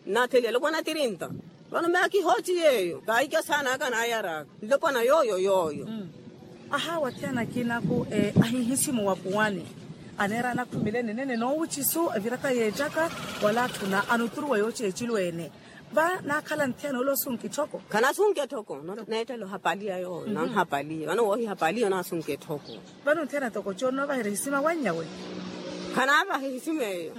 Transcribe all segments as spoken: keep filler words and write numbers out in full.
Nnattheliya elopwana tirinta. Vano meya kihooci yeeyo kaahikya saana aka naayaraka nlopwana yooyo yooyo. Ahawa athiyana akinaku ahihisimo wapuwani aneera anakhumile nenene noowucisu eviraka yeettaka wala atthuna anuturuwa yooci ecilo ene. Va naakhala nthiyana ole osunka etthoko? Khanasunka etthoko. Neettela ohapaliya yooyo nanhapaliya vano woohihapaliya onaasunka etthoko. Vano nthiyana toko coonoovaherya ehisima wannyawe? Khanaavaha ehisima eyo.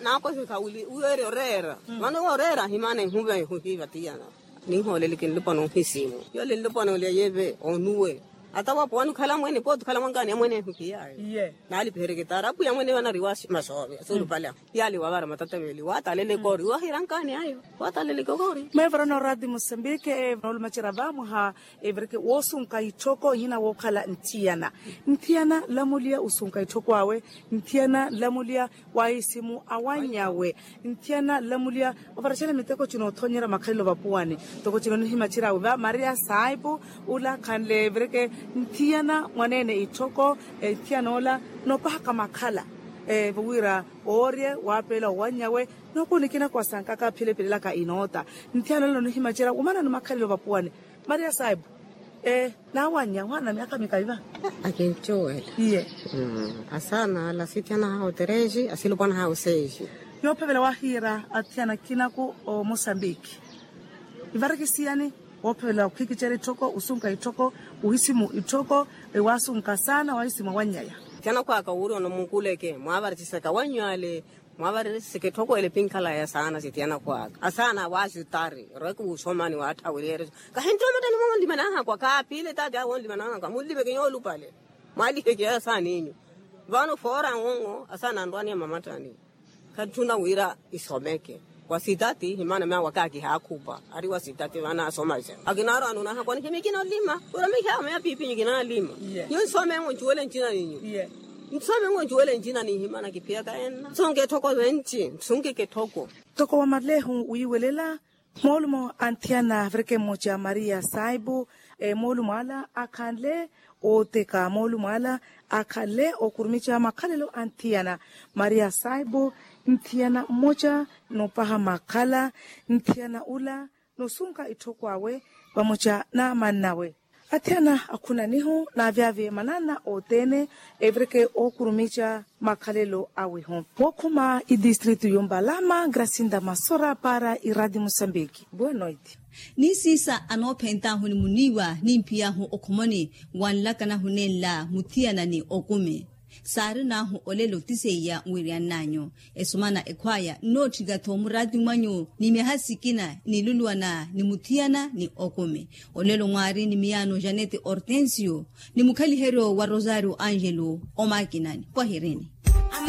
Naakosekha wili wiweerya oreera. Vano woreera ahimana ehuva ehuhiva tiyana. Ninhooleleke nlopwana ohisimu yole nlopwana olya yeve onuwe. Ata wapuwani okhala mwene pooti okhala mwankaani amwene ehuhiyayo. Naalipiheryeke taari apwiya mwene vanariwa masoovya suulupale ahu. Yaali wavara matataveli wataleleka ori wahira nkaani ayo. Wataleleka ori. Meevarana orati musembike noolumacerya vamwaha. Evireke woosunka itthoko ihina wookhala nthiyana. Nthiyana nlamuliya osunka itthoko awe. Nthiyana nlamuliya waahisimu awannyawe. Nthiyana nlamuliya ovaracela miteko cino othonyerya makhalelo vapuwani. Toko cino nihimacerya awe va maria saipu ula khanle evireke nthiyana mwaneene itthoko. Nthiyana ola noopahaka makhala. Vowira oorye waapeela owannyawe. Nookuni kinakuwa sankaka philephilelaka inoota. Nthiyana ola nonihimacerya wumanani makhalelo vapuwani. Maria saipu. Naawannya ohana myaka mikayi va? Akincuwela. Iye. Asaana ala asithiyana ahawe otereji asilopwana ahawe oseji. Yoophevela waahiira athiyana akinaku omosambiki. Ivareke siyani? Woophevela okhwikicerya itthoko osunka itthoko ohisimu itthoko. Waasunka saana wahisimu awannyaya. Athiyana akhwaka wuuri onomukuleke mwaavarichisaka wannyu ale. Mwaavarichisaka etthoko ele pinkhalaya saana sithiyana akhwaka asaana waasitari. Orweke wuusomani waatthaweryeerya. Kahintthiwa mattani mwa onlimanahakwa kaaphile taati awo onlimanahakwa munlipeke nyoolupale. Mwaalipeke yayo asaana enyu. Vano foora ng'ong'o asaana anrwaniya mamattani. Khatthuna wira isomeke. Wa sitati himana meya waka kihaakhupa ari wa sitati vanaasoma. Akinaarwa anuunahakwa nihimikina olima. Wira mikhaameya piipinyu kinaalima. Nyu nsome ng'o ncuwele ncina ninyu. Nsome ng'o ncuwele ncina ninhimana kiphiyaka enna nsunke etthoko venci nsunkeke etthoko. Toko wa malehu wiiwelela. Moolumo a nthiyana avireke mmoca maria saipu. Moolumo ala akhanle ooteka moolumo ala akhanle okurumica makhalelo a nthiyana. Maria saipu nthiyana mmoca noopaha makhala. Nthiyana ula noosunka itthoko awe vamoca n'amannawe. Athiyana akhunanihu naavyavye manana othene evireke ookurumica makhalelo awehu. Wookhuma itistritu yombalama gracinda masora para iradi musambiki. Boa noite. Ni siisa anoophentahu ni muniiwa ni mphiy'ahu okhomoni wanlakanahu nenla muthiyana ni okumi. Saarin'ahu olelo ti seiya wiryann'anyu. Esumana ekhwaya nnootthika-tho muraati mwanyu ni myaha sikina niluluwana ni muthiyana ni okumi. Olelo mwaari ni miyaano janete hortensio ni mukhaliheryo wa rosario angelo omaakinani pwahirini.